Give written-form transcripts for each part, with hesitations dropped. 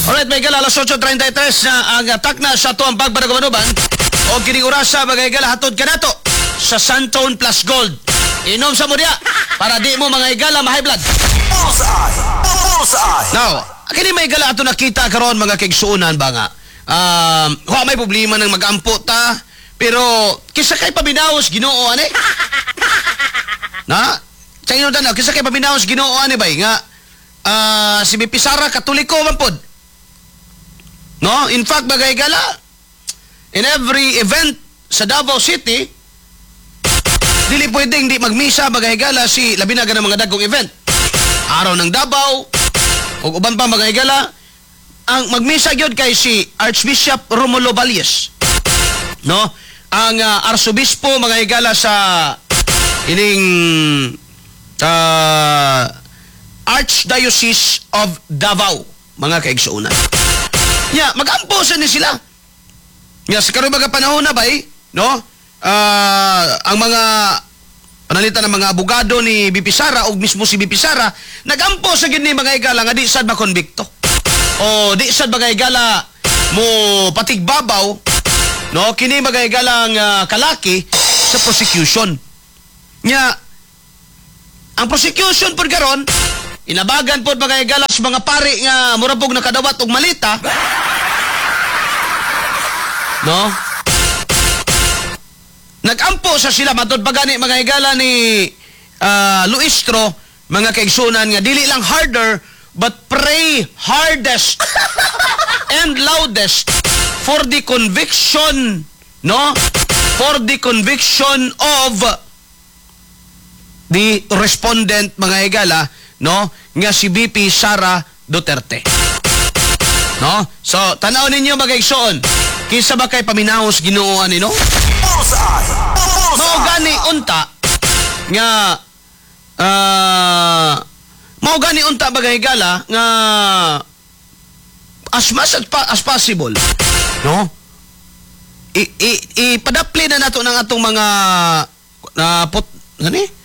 Alright, mga higala, alas 8:33 na ang takna sa atoang pagpanagubanuban. O kining orasa, mga higala, hatod ka nato sa Santone Plus Gold. Inom sa mo diya para di mo, mga higala, ma-high blood. Bullseye! Bullseye! Now, kini, mga higala, ato nakita karon, mga kaigsuonan ba nga. Wa may problema ng magampo ta, pero kisa kay paminaos Ginoo ani. Na, sa inyo tanaw, kisa kay paminaos Ginoo ani bay nga si VP Sara Katoliko man pod. No? In fact, mga higala, in every event sa Davao City, dili pwedeng di magmisa, mga higala, si labi na ng mga dagkong event. Araw ng Davao, ug uban pa, mga higala, ang magmisa gyud kay si Archbishop Romulo Valles. No? Ang arsobispo, mga higala, sa ining Archdiocese of Davao, mga kaigsuonan. Ya, magampo sa ni sila. Ya, sa karon mga panahon na bay, no? Ang mga panalitan ng mga abogado ni VP Sara o mismo si VP Sara nagampo sa gini, mga higala, nga di sad makonbikto. O di sad, mga higala, mo patigbabaw, no, kini, mga higalang kalaki sa prosecution. Nya ang prosecution pod karon inabagan pod, mga higala, sa mga pari nga mura pog nakadawat og malita, no? Nagampo sa sila matod pa gani, mga higala, ni Luistro, mga kaigsunan, nga dili lang harder but pray hardest and loudest for the conviction, no, for the conviction of the respondent, mga higala, no, nga si VP Sara Duterte, no? So tanaw ninyo, mga igsoon, kinsa ba kay paminawos Ginoo ani, no? Bullseye! Mao Bullseye! gani unta nga mao gani unta, mga higala, nga as much as possible, no, i, i, ipadapli na nato ng atong mga na put gani.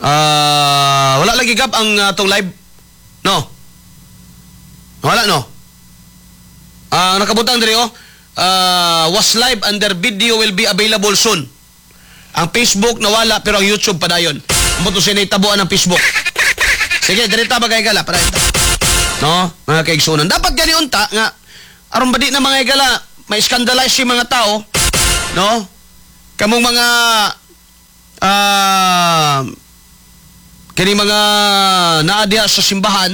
Wala lagi gab ang atong live, no? Wala, no? Ang nakabutang diri oh, was live and their video will be available soon. Ang Facebook nawala pero ang YouTube padayon. Mo to sinitabuan ng Facebook. Sige, direta, mga higala, padayon ta. No, mga kaigsunan. Dapat gani unta nga aron ba di na, mga higala, may scandalize yung mga tao, no? Kamong mga kini mga naa diha sa simbahan,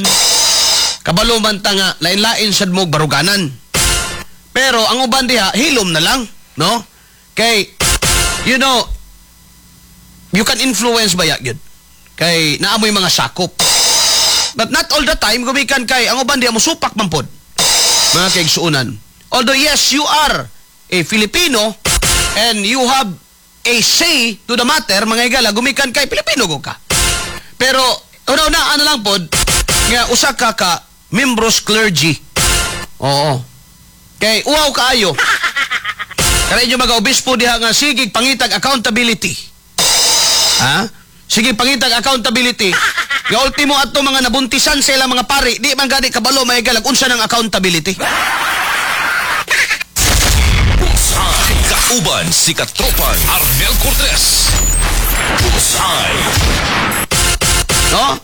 kabalo man ta nga lain-lain sad mo baruganan. Pero ang uban diha hilom na lang, no? Kay you can influence ba ya gyud? Kay naa moy mga sakop. But not all the time gumikan kay ang uban diha mo supak man pod, mga kaigsuonan. Although yes, you are a Filipino and you have a say to the matter, mga higala, gumikan kay Pilipino go ka. Pero una-una ano lang pod nga usa ka ka membros clergy. Oo. Kay uwaw kaayo. Kaya inyo mga obispo diha nga sige pangitag accountability. Ha? Sige pangitag accountability. Nga ultimo ato mga nabuntisan sa ilang mga pari, di man gani kabalo, mga higala, unsa ng accountability. Bullseye. Kauban si Katropan Arnel Cortez. Bullseye. No?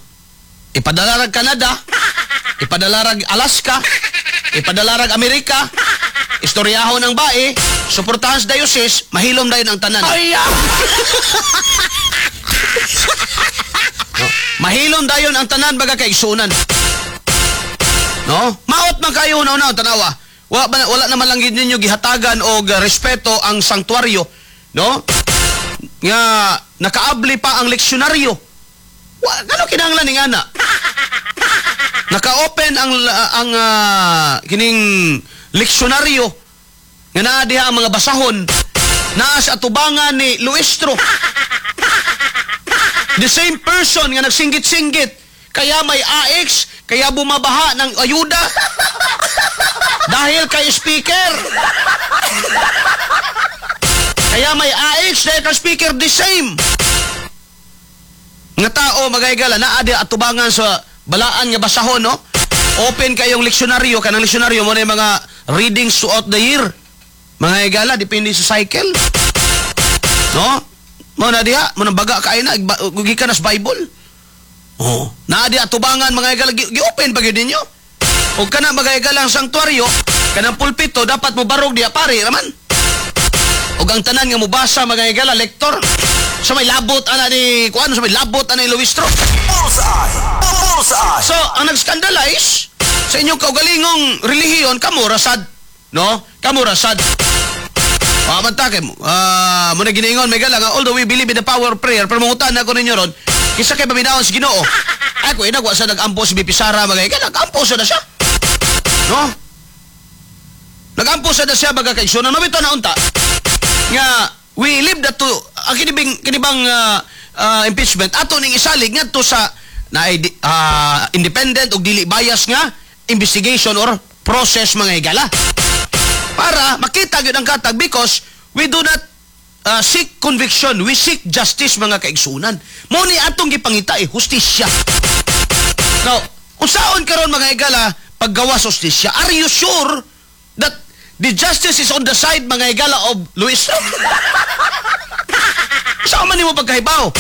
Ipadala rag Canada, ipadala rag Alaska, ipadala rag Amerika, istoryahon ng bae, suportahan sa diocese, mahilom dayon ang tanan. Ay! No? Mahilom dayon ang tanan, baga kaigsunan. No? Maot man kayo una una tanawa. Wala naman lang gid ninyo gihatagan og respeto ang sanktuaryo, no? Nga nakaabli pa ang leksyonaryo. Wa ngano kinahanglan ning ana? Naka-open ang kining leksyonaryo nga naa diha ang mga basahon naa sa atubangan ni Luistro. The same person nga nagsinggit-singgit kaya may AX, kaya bumabaha ng ayuda dahil kay speaker. Kaya may AX dahil kay speaker, the same nga tao, mga higala, naa di atubangan sa balaan nga basahon, no? Open kayong leksyonaryo, kanang leksyonaryo mo na yung mga readings throughout the year. Mga higala, depende sa cycle. No? Mo na diha, mo nang baga kayo na, gikan na sa Bible. Oh, naa diha tubangan, mga higala, gi-open pa gyud ninyo. Og kana, mga higala, ang sanktuaryo, kanang pulpito dapat mo barog diha pare raman. Og ang tanan nga mobasa, mga higala, lektor. Sa may labot ana ni kuan, sa may labot ana ni Luistro. Bullseye! Bullseye! So, ang nag-scandalize sa inyong kaugalingong relihiyon, kamo rasad. No? Kamo rasad. Ah, man kay mo na giniingon may gala nga although we believe in the power of prayer, pero mangutan ako ninyo ron, kinsa kay paminawon sa Ginoo? Ay ko inagwa sa nag-ampo si BP Sara, mga higala, nag-ampo sa na siya. No? Nag-ampo sa na siya, mga kaigsunan. Mabito na unta nga we leave that to ang kinibing kinibang impeachment ato ning isalig ngadto sa na independent ug dili bias nga investigation or process, mga higala, para makita gyud ang katag, because we do not seek conviction, we seek justice, mga kaigsunan. Mo ni atong gipangita eh hustisya. Now, unsaon karon, mga higala, paggawas hustisya? Are you sure that the justice is on the side, mga higala, of Luistro? Saan man nimo pagkahibaw?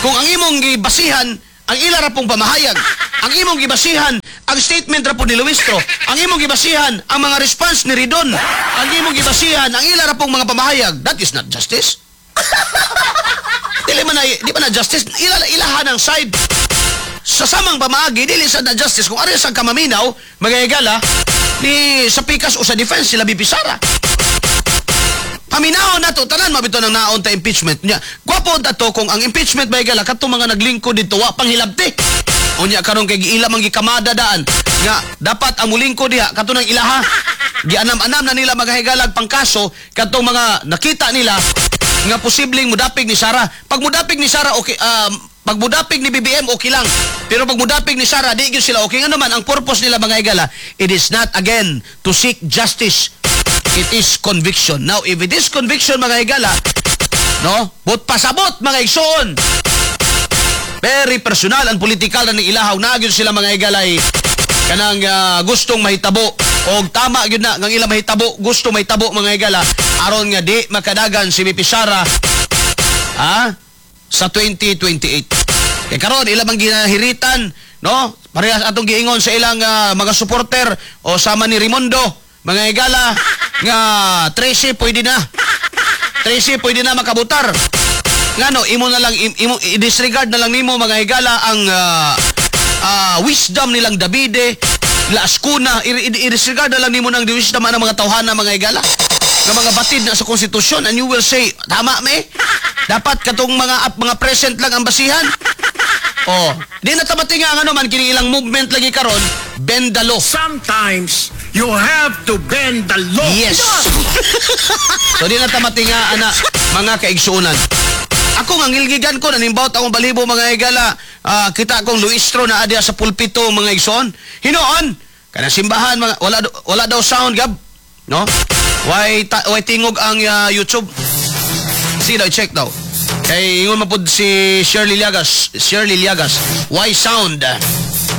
Kung ang imong gibasihan, ang ila ra pong pamahayag, ang imong gibasihan, ang statement ra po ni Luistro, ang imong gibasihan, ang mga response ni Ridon, ang imong gibasihan, ang ila ra pong mga pamahayag, that is not justice. Dili man na, di man na justice, ila ilahan ang side. Sa samang pamaagi, dili sa na justice kung ari sa kamaminaw, mga higala, ni sa pikas o sa defense sila BP Sara. Paminawon na to, tanan mabito ng naon ta impeachment niya. Gwapo ta to kung ang impeachment ba gala kadtong mga naglingkod dito wa pang hilabti. Unya karon kay giila man gikamada daan nga dapat ang mulingkod diha kadto nang ilaha. Gianam-anam na nila, mga higalag, pangkaso kadtong mga nakita nila nga posibleng mudapig ni Sara. Pag mudapig ni Sara okay, pag mudapig ni BBM okay lang. Pero pag mudapig ni Sara di gyud sila okay. Nga naman ang purpose nila, mga higala, it is not again to seek justice. It is conviction. Now, if it is conviction, mga higala, no? But pasabot, mga igsoon. Very personal and political na ning ilahaw na gyud sila, mga higalay, kanang gustong mahitabo og tama gyud na ngang ila mahitabo, gusto mahitabo, mga higala, aron nga di makadagan si BP Sara sa 2028. Kay karon ila bang ginahiritan, no? Parehas atong giingon sa ilang mga supporter o sama ni Rimondo, mga higala, nga 13 pwede na. 13 pwede na makabutar. Ngano imo na lang imo i-disregard na lang nimo, mga higala, ang wisdom nilang Davide, La Azcuna, i-disregard na lang nimo ng wisdom ang mga tawhana, mga higala, nga mga batid na sa konstitusyon, and you will say tama me dapat katong mga present lang ang basihan. Oh, di na tamati nga ano man kini ilang movement lagi karon, bend the law. Sometimes you have to bend the law. Yes. So di na tamati nga ana, mga kaigsuonan. Ako nga ngilgigan ko nanimbawt akong balibo, mga higala, kita akong Luistro na adya sa pulpito, mga igsoon. Hinoon kanang simbahan mga wala daw sound gab, no? Why tingog ang YouTube? Sige daw, check daw. Kay ingon man pud si Shirley Llagas, Shirley Llagas, why sound?